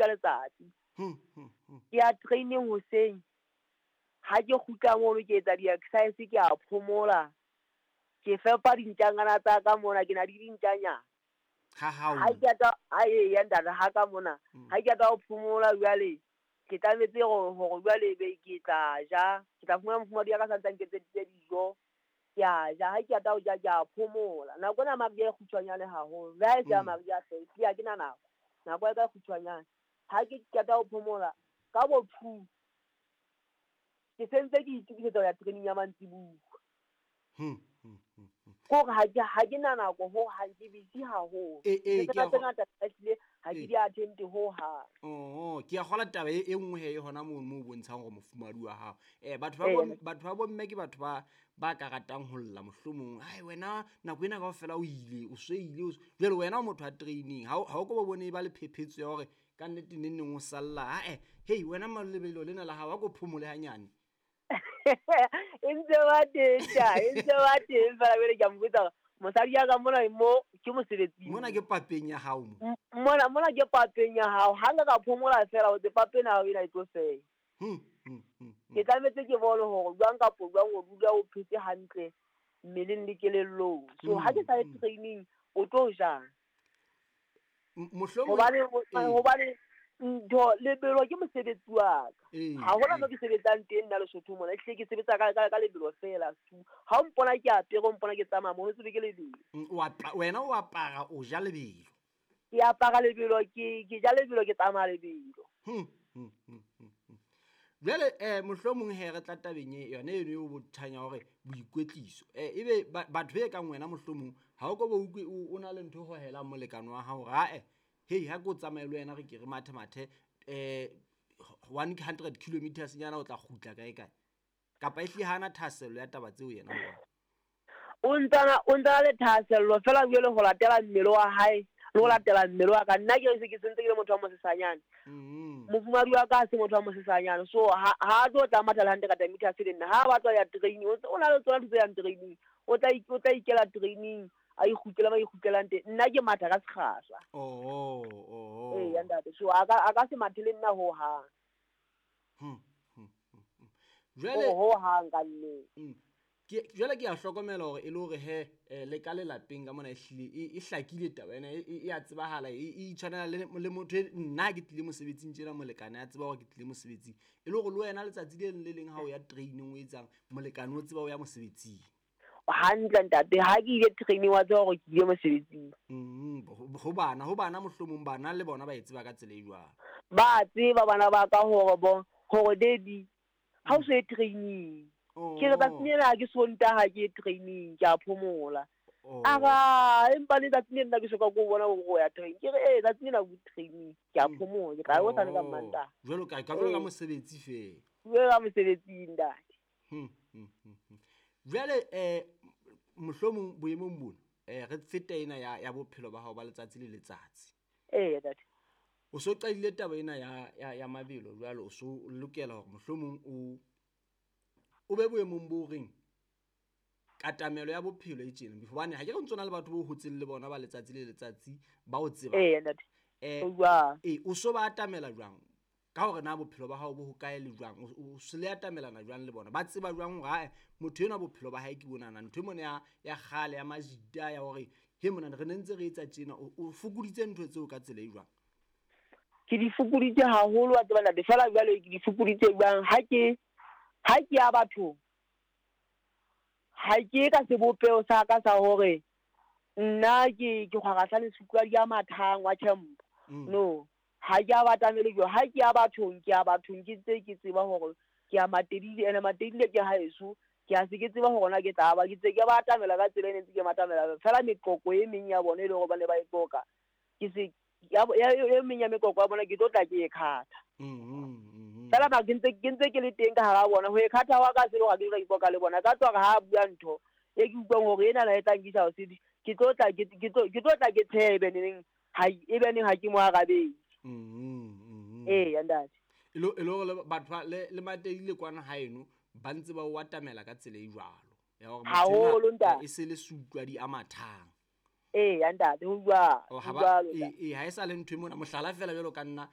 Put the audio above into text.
ka letsatsi. Ke ya training hoseng, ha ke kgutla mono ke etsa di-exercise, ke a phomola, ke fepa dintjanyana tsa ka mona, ke na le dintjanyana. Ha hao. Ha ke ata ha e ya ntate ha ka mona, ha ke ata ho phomola jwale, ke tlametse hore jwale be ke tla ja, ke tla fumana mofumahadi ya ka santsa nketseditse dijo, ke a ja, ha ke ata ho ja ke a phomola. Nako ena mariha e kgutshwanyane haholo, le ha e se ya mariha hle, ehlile ha ke na nako, nako ya ka e kgutshwanyane. Ha ke qeta ho phomola ka bo 2, ke sentse ke itokisetsa ho ya training ya mantsibuya. Kore ha ke na nako ho hang, ke busy haholo. Ee, Ntho ke a tse ngata ehlile ha ke di attend ho hang. Oh, ke a kgola taba e nngwe he e hona moo bontshang hore mofumahadi wa hao. Batho ba batho ba bomme ke batho ba ka ratang ho lla mohlomong. Ai wena nako ena kaofela o ile, o so ile, jwale wena o motho wa training. Ha o ko ba bone ba le phephetso ya hore ka nnete neng neng o salla. Ha hey wena malebelo lena la hao, a ko phomole hanyane. E ntse ba teng ta, e ntse ba teng fela jwale ke a mo botsa hore mosadi ya ka mona mo ke mosebetsing. Mona ke papeng ya hao mo. Mona ke papeng ya hao. Ha nka ka phomola fela ho tse papeng ya hao ena e tlo fela. Ke tlametse ke bone hore jwang kapo jwang o dula o phetse hantle mmeleng le kelellong. So ha ke sa ye training o tlo jang? Mohlomong Hobane ntho lebelo ke mosebetsi wa ka. Ha hona mo ke sebetsang teng nna Lesotho mona, ehlile ke sebetsa ka lebelo fela. Ha o mpona ke apere, o mpona ke tsamaya mono, o tsebe ke lebelo. Wena o apara, o ja lebelo. Ke apara lebelo, ke ja lebelo, ke tsamaya lebelo. Jwale mohlomong he re tla tabeng e yona eno eo bothanya hore boikwetliso. Ebe batho be kang wena mohlomong ha o ko ba utlwe o na le ntho e hohelang molekane wa hao hore ae, hei ha ke o tsamaye le wena re ke re mathe mathe 100 kilometers nyana o tla kgutla kae kae. Kapa ehlile hana thahasello ya taba tseo yena ho wena. O ntsana le thahasello fela jwale ho latela mmele wa hae le ho latela mmele wa ka. Nna ke se ke sentse ke le motho wa mosesanyane. Mofumahadi wa ka ha se motho wa mosesanyane. So ha tlo tla matha le 100 meters le nna. Ha a batla ho ya training, o na le tsona ntho tse yang training. O tla ikela training, a ikgutlela ba ikgutlelang teng. Nna ke matha ka sekgahla. Ee, ya ntate. So a ka se mathe le nna ho hang. Jwale Ho hang ka nnete. Jwale ke a hlokomela hore e le hore he, le ka lelapeng ka mona ehlile e hlakile taba ena, e a tsebahala, e itshwanela le motho e nna ke tlile mosebetsing tjena, molekane a tseba hore ke tlile mosebetsing. E le hore le wena letsatsi le leng le leng ha o ya training o etsang, molekane o tseba o ya mosebetsing. Hantle ntate, ha ke ile training wa tseba hore ke ile mosebetsing. Ho bana mohlomong bana le bona ba e tseba ka tsela e jwang? Ba tseba bana ba ka hore bo, hore daddy, ha o so ye training. Ke re tsatsi lena ha ke Sontaha ke ye training, ke a phomola. Ara, empa le tsatsi lena ke soka ke o bona hore o ya training. Ke re, ee, tsatsi lena o training, ke a phomola, ke tla ya hosane ka Mantaha. Jwalo ka jwalo ka mosebetsi feela. Jwalo ka mosebetsi, ntate. Jwale, mohlomong boemong bona, re fete ena ya bophelo ba hao ba letsatsi le letsatsi. Ee, ntate. O so qadile taba ena ya mabelo jwale, o so lokela hore mohlomong o be boemong bo reng katamelo ya bophelo e tjena, hobane ha ke re ntso na le batho bo hotseng le bona ba letsatsi le letsatsi ba o tsebang. Ee, ntate. O jwang? O so ba atamela jwang? Ka hore na bophelo ba hao bo hokae le jwang? O se le atamelana jwang le bona? Ba tseba jwang hore, ae, motho enwa bophelo ba hae ke bonana, ntho e mona ya kgale ya majita ya hore he mona re ne ntse re etsa tjena, o fokoditse ntho tseo ka tsela e jwang? Ke di fokoditse haholo wa tseba ntate, fela jwale ke di fokoditse jwang? Ha ke ya bathong, ha ke ka sebopeho sa ka sa hore nna ke kgwarahla le sutlwa di a mathang wa camp. No, ha ke a batamele jwang. Ha ke ya bathong, ke ya bathong, ke ntse ke tseba hore ke ya Matedile, ene Matedile ke haeso, ke a se ke tseba hore na ke tla ba, ke ntse ke ba atamela ka tsela e ne ntse ke matamela. Fela meqoqo e meng ya bona e le hore ba ne ba e qoqa, ke se, ya bo, ya, e meng ya meqoqo ya bona ke tlo tla ke e khatha. Fela ba ke ntse ke le teng ka hara bona, ho e khatha wa ka se le hore ha ke tlo tla ke qoqa le bona. Ka tswa ha bua ntho e ke utlwang hore ena na e tla nkisa ho sedi, ke tlo tla ke, ke tlo, ke tlo tla ke tshebe neneng, ha, e be neng ha ke mo arabele. Ee, ya ntate. E le hore le batho ba, le Matedile kwana haeno, ba ntse ba o atamela ka tsela e jwalo. Ya hore motho enwa Haholo, ntate. e se le sutlwa di a mathang. Ee, ya ntate, ho jwalo, Oh, ho ha ba, jwalo, ee, ntate. ee, ha e sa le ntho e mona, mohlala fela jwalo ka nna,